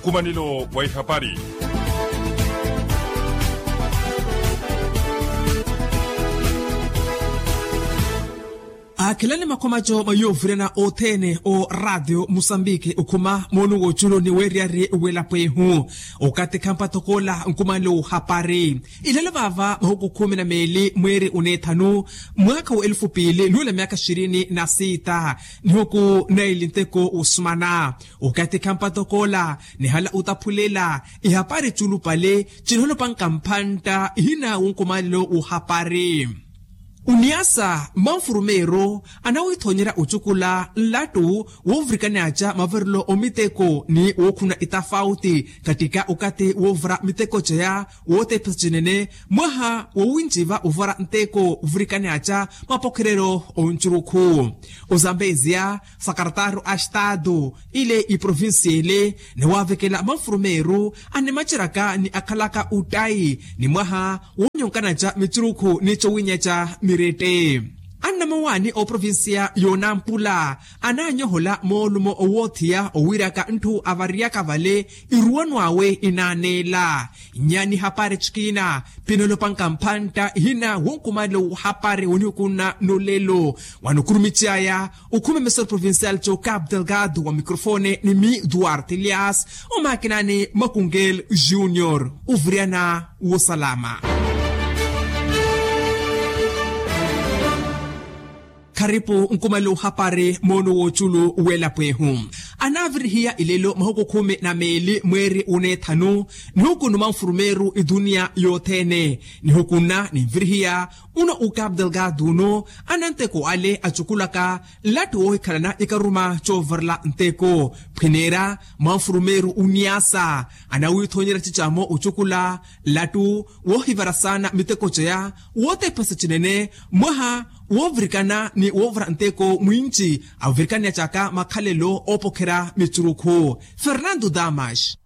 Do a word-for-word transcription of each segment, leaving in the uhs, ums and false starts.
Nkumanelo wa ihapari. Akhilani makhomaco mwa yovirana othene o ratio musambiki okhuma moonu w'oculu ni weeriyari w'elapwehu. Okathi khampathokoola nkumanelo w'ohapari. Ilelo vaava mahuku khumi na meeli mweeri oneethanu, mwaakha wa elufu piili nuula myaakha xirini na siita, nihuku naili nteko wosumana. Okathi khampathokoola nihala otaphulela ihapari culupale cinholopanka mphantta ihina wonkumanelo w'ohapari. Oniasa manfurumeeru anawithoonyerya ocukula nlattu woovirikani aca mavirelo omiteko ni wookhuna itafauti kattika okathi woovira miteko ceya wootephesa cinene mwaha wowinciva ovira nteko ovirikani aca mapokhereryo oncurukhu. Ozambeziya sakarataru a estado ile iprovincia ile niwaavekela manfurumeeru animaciraka ni akhalaka ottayi ni mwaha woonyonkana ca micurukhu ni cowinya ca mirette. Annamowaani oprovincia yoonampula anaanyohola moolumo owoothiya owiiraka ntthu avariyaka vale iruwano awe inaaneela. Nyaani hapari cikiina pinolopanga mphantta ihina wonkumanelo w'ohapari wonihukunna nolelo. Wano okhurumiciyaya okhuma emisoro provincial co capo delgado wa microfone ni mi duarte elias omakinani makungel junior. Oviriyana wosalama. Kharipu nkumanelo w'ohapari moono w'oculu w'elapwehu. Anaavirihiya ilelo mahuku khumi na meeli mweeri oneethanu nihukunnu manfurumeeru iduniya yothene. Nihukunna ninvirihiya uno ukapu delgado uno ananteko ale acukulaka nlattu woohikhalana ikaruma coovarela nteko phwineera manfurumeeru oniasa anawithoonyerya cicamo ocukula nlattu woohivara saana miteko ceya wootephesa cinene mwaha woovirikana ni woovara nteko mwinci avirikaniya caka makhalelo oopokherya micurukhu. Fernando damas.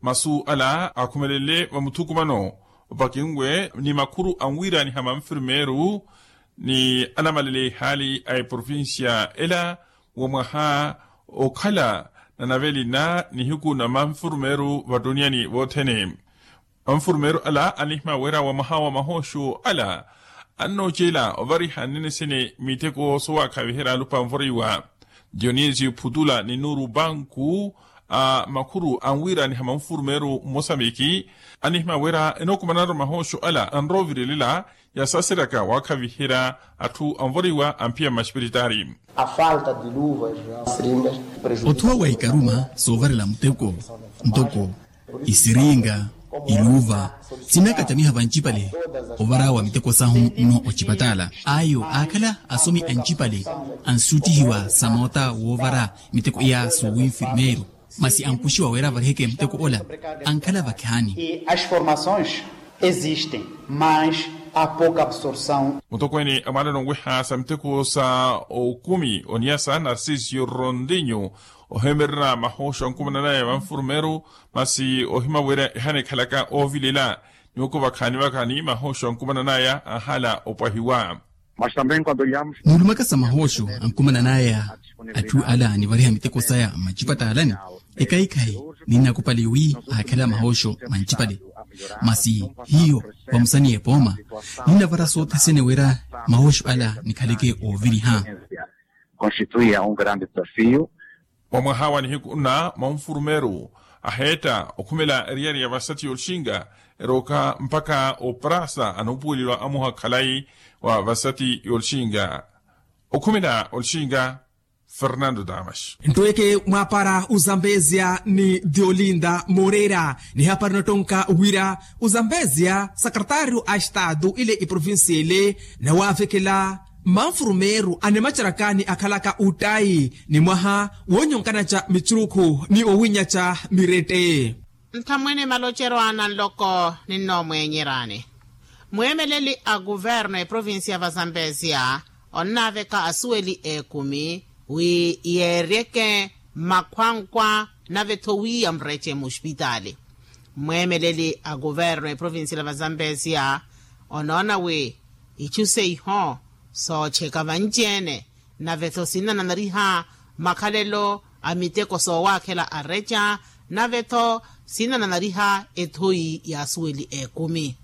Masu ala akhumelele vamuthukumano opakinwe ni makhuru anwiiraniha manfirmeeru ni anamalele ihaali a eprovincia ela wa mwaha okhala na navelina nihiku na manfirmeeru vattuniani vothene. Manfurmeeru ala anihimya wira wa mwaha wa mahooxo ala annoocela ovariha nnene sene miteko sowaakhaviherya alupa anvoriwa dionisio phutula ni nuuru banku a makhuru anwiiraniha manfurmeeru mmosambiki anihimya wira enookumananru mahooxo ala anroovirilela yasaseryaka waakhaviherya atthu anvoriwa amphiya mmaxipiritaari. Othuwa wa ikaruma soovarela muteko ntoko isiringa iluva sinakatamiha vancipale ovara wa miteko sahu nno ocipatala ayo aakhala asomi ancipale ansuutihiwa sa moota woovara miteko iya soowi nfirmeeru masi ankuxiwa wira avariheke muteko ola ankhala vakhaani. As formações existem mas a pouca absorção. Mutokweene amwaalelo onweha sa miteko sa okumi oniyasa narcisio rondinho oheemererya mahooxo ankumananaya vanfurmeeru masi ohima wira ehanekhalaka oovilela ni oko vakhaani vakhaani mahooxo ankumananaya ahala opwahiwa. Mas também quando olhamos. Muulumaka sa mahooxo ankumananaya atthu ala anivariha miteko saya mmacipatalani ekaikhayi ninnakupale wi aakhala mahooxo mancipale masi hiyo vamusaniye pooma ninnavara sothesene wira mahooxo ala nikhaleke ooviriha. Constituía um grande desafio. Wa mwaha wa nihiku nna manfurumeeru aheetta okhumela eriyari ya vasati y'olxinga erooka mpakha oprasa anuupuweliwa amuha khalayi wa vasati y'olxinga okhumela olxinga. Fernando damas. Ntweke mwaapara ozambezia ni diolinda moreira nihapara nottonka wira ozambezia sakretario a estado ile iprovincia ile nawaavekela manfurumeeru animacharaka ni akhalaka ottayi ni mwaha woonyonkana ca micurukhu ni owinya ca mirette. Nthamwene maloceryo ana nloko ninnoomweenyeryani mweemeleli a kuverno eprovincia va zambezia onnaaveka asuweli ekumi wi yeeryeke makhwankwa nave-tho wiiya murece muxipitaali. Mweemeleli a kuverno eprovincia va zambezia onoona wi ichu seiho sooceka vanci-ene nave-tho sinnananariha makhalelo a miteko soowaakhela areca Nave-tho sinananariha ethoyi y'asuweli ekumi.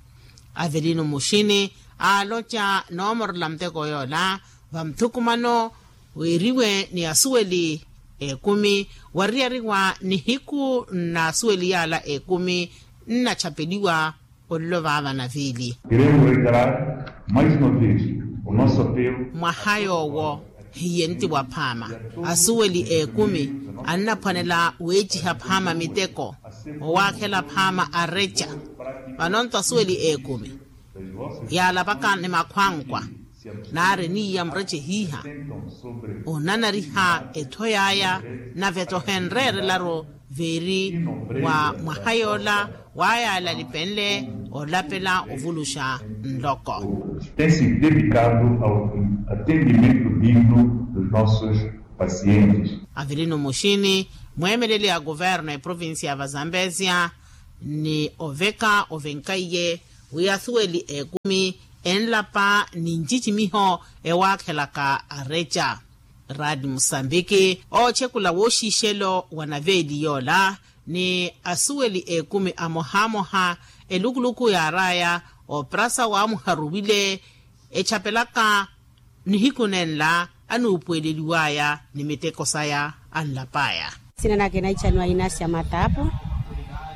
Avelino muxini aaloca noomorela muteko yoola vamuthukumano, wiiriwe ni asuweli ekumi wariyariwa nihiku n'asuweli yaala ekumi nnachapeliwa. Ololo vaava naviili. Queremos reiterar mais uma vez o nosso apelo. Mwaha yoowo hiye nti waphaama asuweli ekumi annaphwanela weeciha phaama miteko owaakhela phaama areca. Vano nto asuweli ekumi yaalapaka ni makhwankwa naari niiya murece hiiha onanariha etho yaaya nave-tho henreerelaru veeri wa mwaha yoola wayaala lipenle olapela ovuluxa nloko. Tem se dedicado ao atendimento digno dos nossos pacientes. Avelino muxini mweemeleli a kuverno eprovincia ya vazambezia ni oveka ovenkaiye wi asuweli ekumi enlapa ni ncicimiho ewaakhelaka areca. Raadi musambiki oochekula wooxiixelo wa naveeli yoola ni asuweli ekumi amohamoha elukuluku yaaraya oprasa waamuharuwile echapelaka nihiku nenla anuupuweleliwaya ni miteko saya anlapaya. Sina nake naichanwa inasia matapu.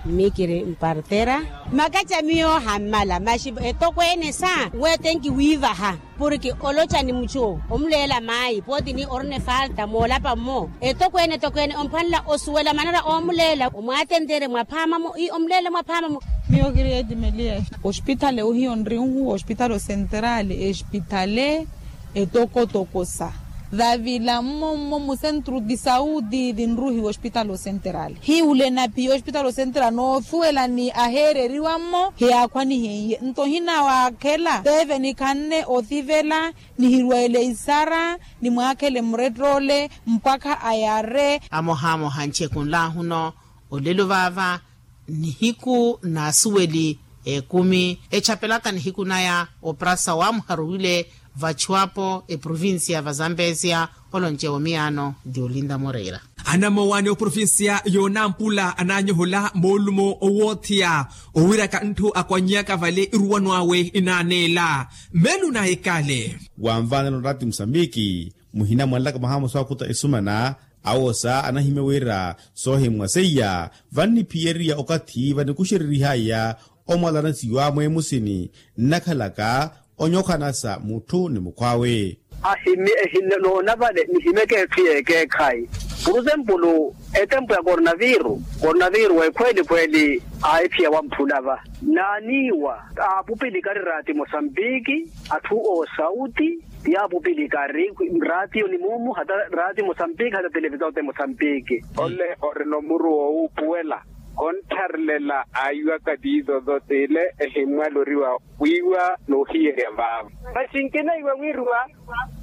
Mikiri mpartera makacha miyo hammala maxi etokweene sa wetenki wiivaha porke olocha ni muchu omuleela maayi pooti ni orina efalta moolapa mmo etokweene etokweene omphwanela osuwela manera oomuleela omwaatentere mwaphaamamo ii omuleela mwaphaamamo. Miyo kiri eti meliya ospitale ohiyo nrihu ospitale osenterale espitale etokotoko sa davila mmommo musentru di sauti dinruhiwa ospitale osenterale hiwule napiya ospitale osenterale noosuwela ni aheereriwa mmo hiyaakhwanihenye nto hinawaakhela teve nikhanne othivela nihirwele isara nimwaakhele murettoole mpakha ayare. Amohamoha nchekunlaahuno olelo vaava nihiku n'asuweli ekumi echapelaka nihiku naya oprasa waamuharuwile vachuapo eprovincia ya vazambezia oloncewa miyaano di olinda moreira. Anamowani oprovincia yoonampula ananyohola moolumo owoothiya owiraka ntthu akwanyaka vale iruwano awe inaaneela mmeelo naikale. Wanvaanela onrati musambiki muhina mwanlaka mwaha mosa wakhuta esumana awosa anahimya wira soohimwa seiya vanniphiyeriya okathi vanikuxereryihaya omwalanasiwa mweemusini nnakhalaka onyokhanasa mutthu ni mukhw'awe. Ahimi ehinoona vale nihimeke etthu y'ekeekhayi. Puruzempulu etempu ya kornaviru kornaviru ekhweeli khweeli aahiphiya wamphulava naaniiwa aapupilika ari raati mosambiki atthu oosauti. Yaapupilika ari raatiyo ni mumu hata raatiyo mosambiki hata televisao te mosambiki. Ole orina omuru woowuupuwela konttharelela aayiwaka tiizo zotile ehimmwaloriwa wiiwa n'uhiyerya vaavo. Maxi nkinaiwa wiiriwa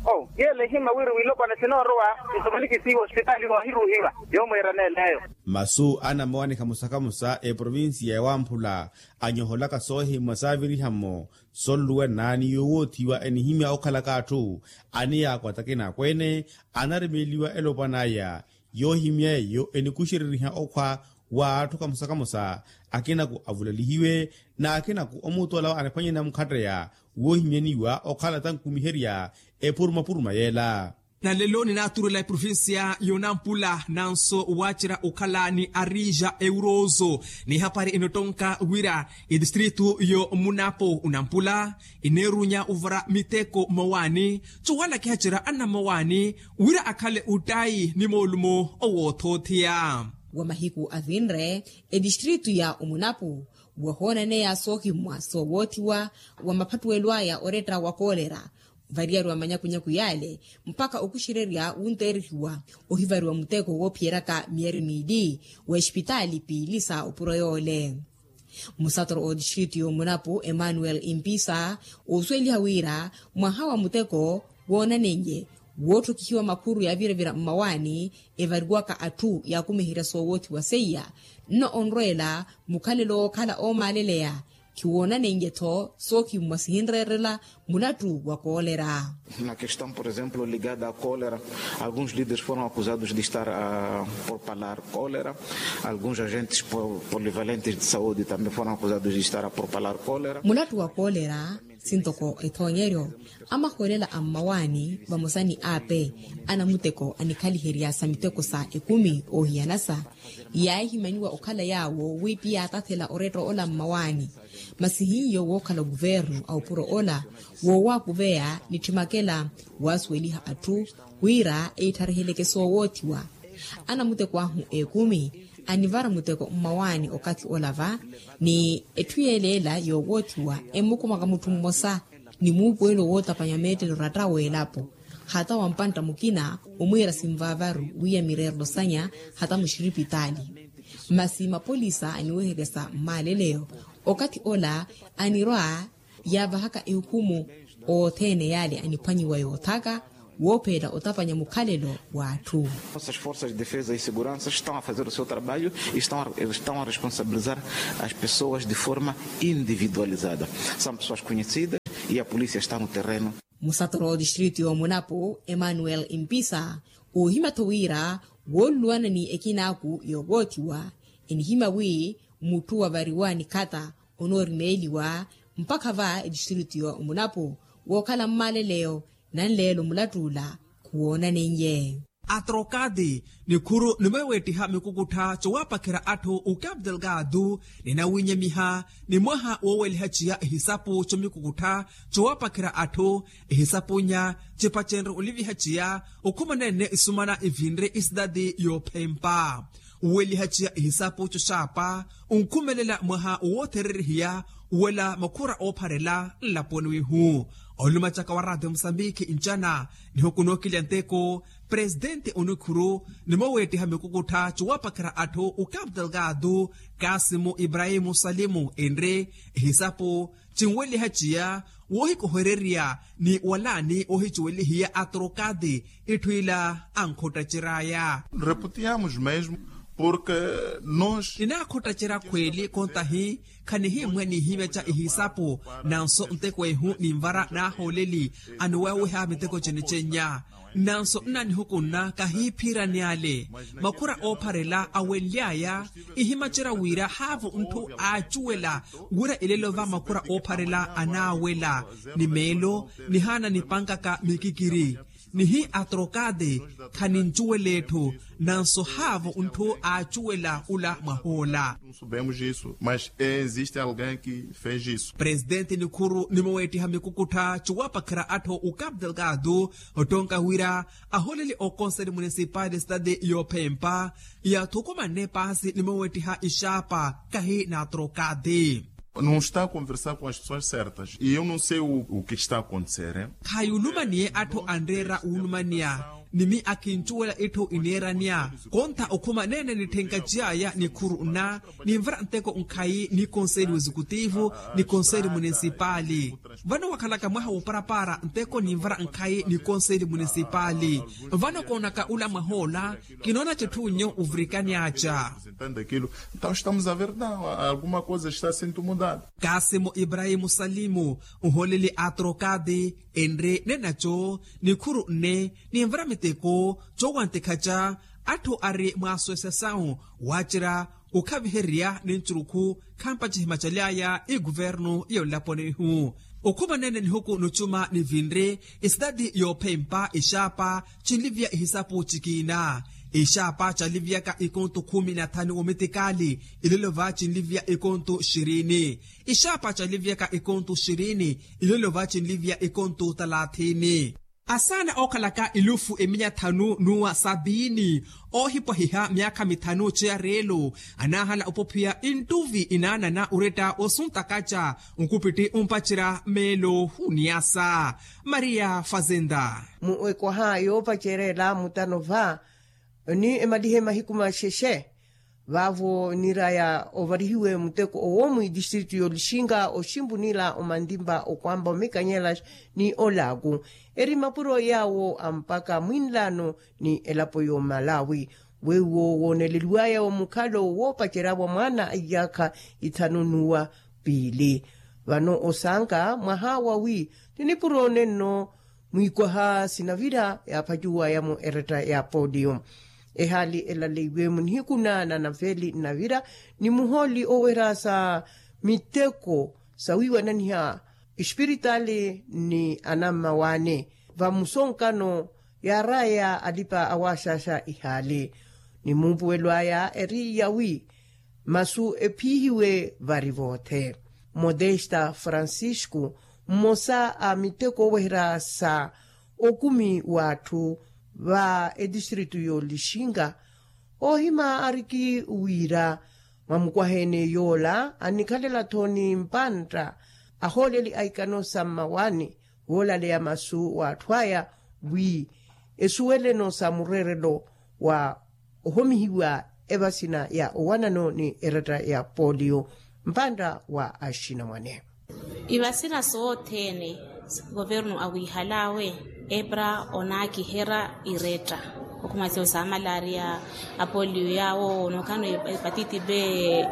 o yeela ehimma wiri wilopwana sinoorowa nsomanikisiiwa ospitaali waahiruuhiwa. Yoomweerana eleyo. Masu anamowanikha musakhamusa eprovincia ya wamphula anyoholaka soohimwa saaviriha-mo sonluwena ni yowoothiwa enihimya okhalaka atthu aniyaakwata akinakweene anaremeeliwa elopwan'aya yoohimya eyo enikuxereriha okhwa wa atthu kamosa-kamosa akinaku avulalihiwe n'akinaku omuutu alawa anaphwanyana mukhatteya woohimyaniwa okhala tankumiherya epuruma-puruma yeela. Nalelo ninaaturuwela eprovincia yoonampula nanso waacerya okhala ni arija eurozo n'ihapari enottonka wira etistritu y'omunapo onampula eneerunya ovara miteko mmawaani. Cuwala kihacerya anammawaani wira akhale ottayi ni moolumo owoothootheya. Wa mahiku avinre etistritu ya omunapo wahoonaneya soohimmwa soowoottiwa wa maphattuwelo aya oretta wa koolera variyariwa manyakunyaku yaale mpakha okuxererya wunteerihiwa ohivariwa muteko woophiyeryaka miyari miili w'espitaali piili sa opuro yoole. Musatoro otistritu y'omunapo emmanuel impisa oosuweliha wira mwaha wa muteko woonanenye wootthokihiwa makhuru yaaviravira mmawaani evariwaka atthu yaakumiherya soowoothiwa seiya nno onrweela mukhalelo wookhala oomaaleleya Khiwoonaneiye-tho sookhimwa sihinreerela mulattu wa koolera. Na kestão por exemplo ligada a koolera, alguns lideres foram akuzados de estar a propalar koolera. Alguns agentes polivalentes de saúde também foram akuzados de estar a propalar koolera. Mulattu wa koolera sintoko ethoonyeryo, amahwelela a mmawaani vamosa ni aape anamuteko anikhaliherya sa miteko sa ekumi oohiyanasa, yaahimaniwa okhala yaawo wi piyatathela oretta ola mmawaani. Masi hiyo wookhala oguvernu a opuro ola woowakuveya nitthimakela waasuweliha atthu wira eitthareheleke soowoothiwa. Anamuteko ahu ekumi anivara muteko mmawaani okathi ola va, ni etthu yeeleela yoowoothiwa emmukumaka mutthu mmosa ni muupuwelo wootapanya meettelo ratta w'elapo. Hata wampantta mukina omwiira sinvaavaru wiiya mireerelo sanya hata muxiripitaali. Masi mapolisa aniweheryasa mmaaleleyo okathi ola anirwa yaavahaka ehukumu othene yaale aniphwanyiwa yoothaka woopheela otapanya mukhalelo w'atthu. Nossas forças de defesa e segurança estão a fazer o seu trabalho e estão a responsabilizar as pessoas de forma individualizada. São pessoas conhecidas e a polícia está no terreno. Musatoro distrito y'omunapu emmanuel mpisa oohima-tho wira wooluluwana ni ekinaaku yoowoothiwa enihima wi mutthu wavariwa nikhata onoorimeeliwa mpakha va edistrito y'omunapu wookhala mmaaleleyo nanleelo mulatt'ula khuwoonaneiye. Atrokati nikhuru nimweweettiha mikukuttha cowaapakherya atthu ukapu delgado ninawinyemiha ni mwaha wooweliha ciya ihisapu comikukuttha cowaapakherya atthu ihisapunya cipacenre oliviha ciya okhumanene isumana ivinre isidadi yoophempa. Uweliha ciya ihisapu coxaapa unkhumelela mwaha woothererehiya uwela makhura oopharela nlaponi wihu. Olumacaka wa raatio musambikhi ncana nihukunookilya nteko presidenti onikhuru nimoweettiha mikukuttha cowaapakherya atthu ukapu delgado kasimu ibrahimu salimu enre ihisapu cinweliha ciya woohikohererya ni walaani oohicuwelihiya atrokati itthu ila ankhottacery'aya. Reputiamos mesmo porque nos ninakhottacerya khweeli kontahi khanihimwe nihimeca ihisapu nanso nteko ehu ninvara naahooleli aniweweha miteko cene cennya. Nanso nnanihukunna kahiiphiirani ale makhura oopharela awenly'aya ihimacerya wira haavo ntthu aacuwela wira ilelo va makhura oopharela anaawela ni meelo nihaana nipankaka mikikiri nihi atrokate khanincuwela etthu nanso haavo ntthu aacuwela ula mwahoola. Mas existe alguém que fez isso. Presidenti nikhuru nimoweettiha mikukuttha cowaapakherya atthu ukapu delgado ottonka wira ahooleli okonseli munisipali sitati yoophempa yaathukumanne paasi nimoweettiha ixaapa kahi n'atrokati. Não está a conversar com as pessoas certas e eu não sei o que está a acontecer. Khayulumaniye atthu anreera wulumaniya nimi akhincuwela itthu ineeraniya konta okhuma neene nitthenka ciyaya nikhuru nna ninvara nteko nkhayi ni konseli wezekutivu ni konseli munisipali. Vano wakhalaka mwaha wooparapara nteko ninvara nkhayi ni konseli munisipali. Vano koonaka ula mwahoola kinoona citthu nyo uvirikani aca. Ntao estamos a ver alguma coisa está sento mudada. Kasimu ibrahimu salimu ohooleli atrokati enre nenaco nikhuru nne ninvara miteko cowantikhaca atthu ari mwaaswesya sawu waacerya okhavihererya ni ncurukhu khampa cihimacaly'aya ikuvernu y'onlaponi ihu. Okhuma neene nihuku nucuma nivinre esitati yoophempa ixaapa cinliviya ihisapu cikiina. Ixaapa caliviyaka ikonto khumi na thanu omitikaali ilelo va cinliviya ikonto xirini. Ixaapa caliviyaka ikonto xirini ilelo va cinliviya ikonto talathini. Asaana ookhalaka ilufu eminya thanu n'uwa sabiini oohipwahiha myaakha mithanu ceya reelo anaahala opophiya inttuvi inaanana oretta osuntakaca nkupitti ompacerya meelo huniyasa. Maria fazenda. Mu ekwaha yoopacerela mutano va ni emalihe mahiku maxexe vaavo niraya ovarihiwe muteko owo mwidistritu y'olixinga oximpu nila omantimpa okwampa omikanyela ni olaaku eri mapuro yaawo ampaka mwinlaano ni elapo y'omalawi weiwo wooneleliwaya omukhalo woopacerya wa mwaana a iyaakha ithanu n'uwa piili. Vano osaanga mwaha wawi ti nipuro nenno mwiikwaha sinavira yaaphacuwayamo eretta ya polio. Ehaali elaleiwe munihiku na nanaveli nnavira ni muhooli oweera sa miteko sawiiwananiha espiritaali ni anammawaani vamusonkano yaaraya alipa awaaxaxa ihaali ni muupuwelo aya eri yawi masu ephiihiwe vari voothe. Modesta francisco mmosa a miteko oweherya sa okumi w'atthu va etistritu y'olixinga oohima ariki wira mwamukwahene yoola annikhalela-tho ni mpantta ahooleli a ikano sa mmawaani woolaleya masu w'atthu aya wi esuweleno sa mureerelo wa ohomihiwa evasina ya owanano ni eretta ya polio mpantta wa axinamwane. Ivasina sothene governu awiihalawe epra onaakiherya iretta okhumasiwa sa malaria apolio yawo nokhano epatiti be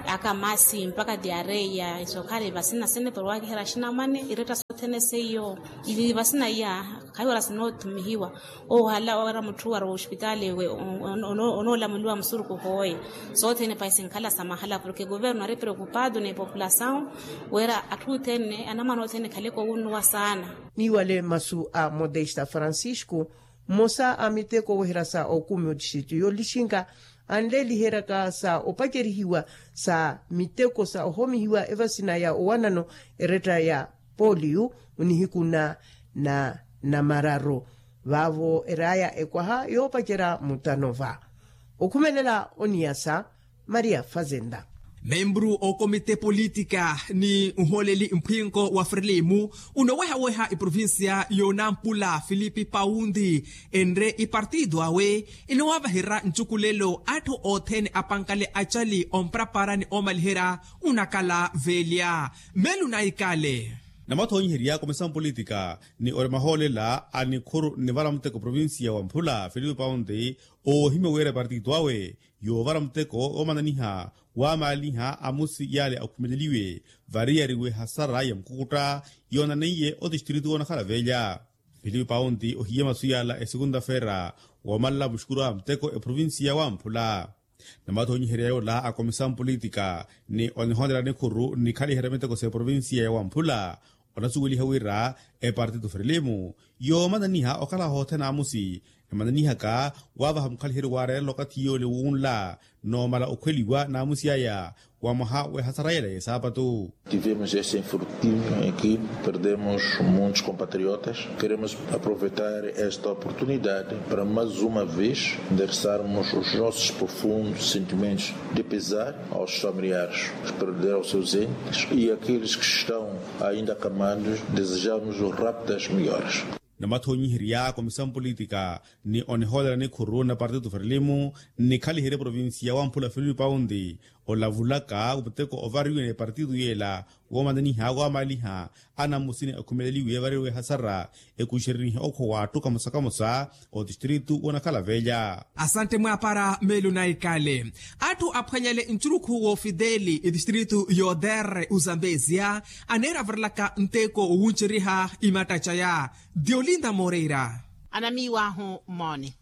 akamasi mpaka diareia isokhala ivasina sene pero waakiherya axinamwane iretta sothene seiyo. Ivasina iya khayi wala sinothumihiwa ohala owera mutthu wari ospitaali ewe onoolamuliwa musuruku hooye. Sothene pahi sinkhala sa mahala porke governu ari preocupado ni populasaw wera atthu othene anamwana othene ekhaleke owunnuwa saana. Niiwale masu a modesta francisco mmosa a miteko oweherya sa okumi otixitu yoolixinka anleeliheryaka sa opacerihiwa sa miteko sa ohomihiwa evasina ya owanano eretta ya polio onihiku na na namararu vaavo eraya ekwaha yoopacerya mutanova. Okhumelela oniyasa maria fazenda. Membru okomite politika ni nholeli mphwinko wa frilimu unowehaweha iprovincia yoonampula filipi paundi enre ipartido awe inowaavaherya ncukulelo atthu othene apankale acali omprapara ni omaliherya unakala velya. Melu naikale. Namathonyiherya komisa mpolitika ni oremahoolela a nikhuru ni varamuteko provincia wa mphula filipi paundi oohimya wira partito awe yoovara muteko woomananiha waamaaliha amusi yale akhumeleliwe variyariwe hasara ya mukukutta yoonaneiye otistritu woonakhala velya. Filipi paundi ohiye masu yala esekunta-feera woomanla muxukuru a muteko eprovincia ya wamphula. Namathonyiherya yoola akomisa mpolitika ni onihoonela nikhuru nnikhaliherya miteko s'eprovincia ya wamphula onasuweliha wira epartito frelimo yoomananiha okhala hothene amusi emananihaka waavaha mukhaliheryo waareerela okathi yoole wunla noomala okhweliwa n'amusi aya wa mwaha w'ehasara yela y'esaapatu. Tivemos este infortúnio em que perdemos muitos compatriotas. Queremos aproveitar esta oportunidade para mais uma vez endereçarmos os nossos profundos sentimentos de pesar aos familiares que perderam seus entes e àqueles que estão ainda acamados, desejamos rápidas melhoras. Namathonyiherya komisa mpolitika ni onihoolera nikhuru na partitu frelimo nnikhaliherye provincia wamphula filipi paundi olavulaka muteko ovariwe ni partitu yela woomananiha waamaaliha anamusini akhumeleliwe evariwe ehasara ekuxerenihe okhowa atthu kamosa kamosa otistritu woonakhala velya. Asante mwaapara melu naikale. Atthu aphwanyale nchurukhu wofideli etistritu y'oderre ozambesia aneera avarilaka nteko wowuncheriha imatta caya diolinda moreira. Anamiiwahu mmooni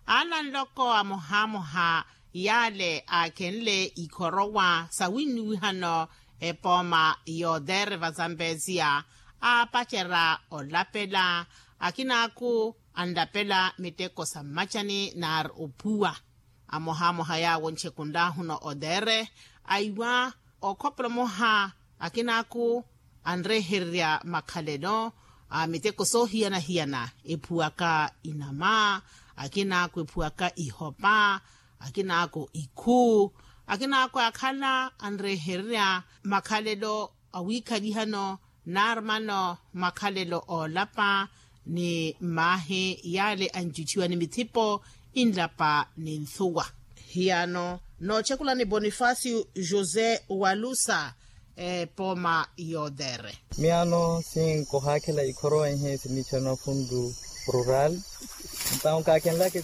ana nloko amohamoha yale aakhenle ikhorowa sawinnuwihano epooma y'oderre vazambesia aapacerya olapela akinaaku anlapela miteko sa mmacani naari ophuwa. Amohamoha yaawo nchekunlahuna otere aiwa okhopolo moha akinaaku anrehererya makhalelo a miteko soohiyana-hiyana ephuwaka inama akinaaku ephuwaka ihopa akinaaku ikhu akinaaku akhala anrehererya makhalelo awiikhalihano naari mano makhalelo oolapa ni mmaahi yale ancuciwa ni mithipo inlapa ni nthuwa. Hiyano noocekulani bonifacio josé walusa epooma y'otere. Miyano sinkohaakhela ikhorowa ihi siniichana fundu rural. Ntawo kaakhenlaka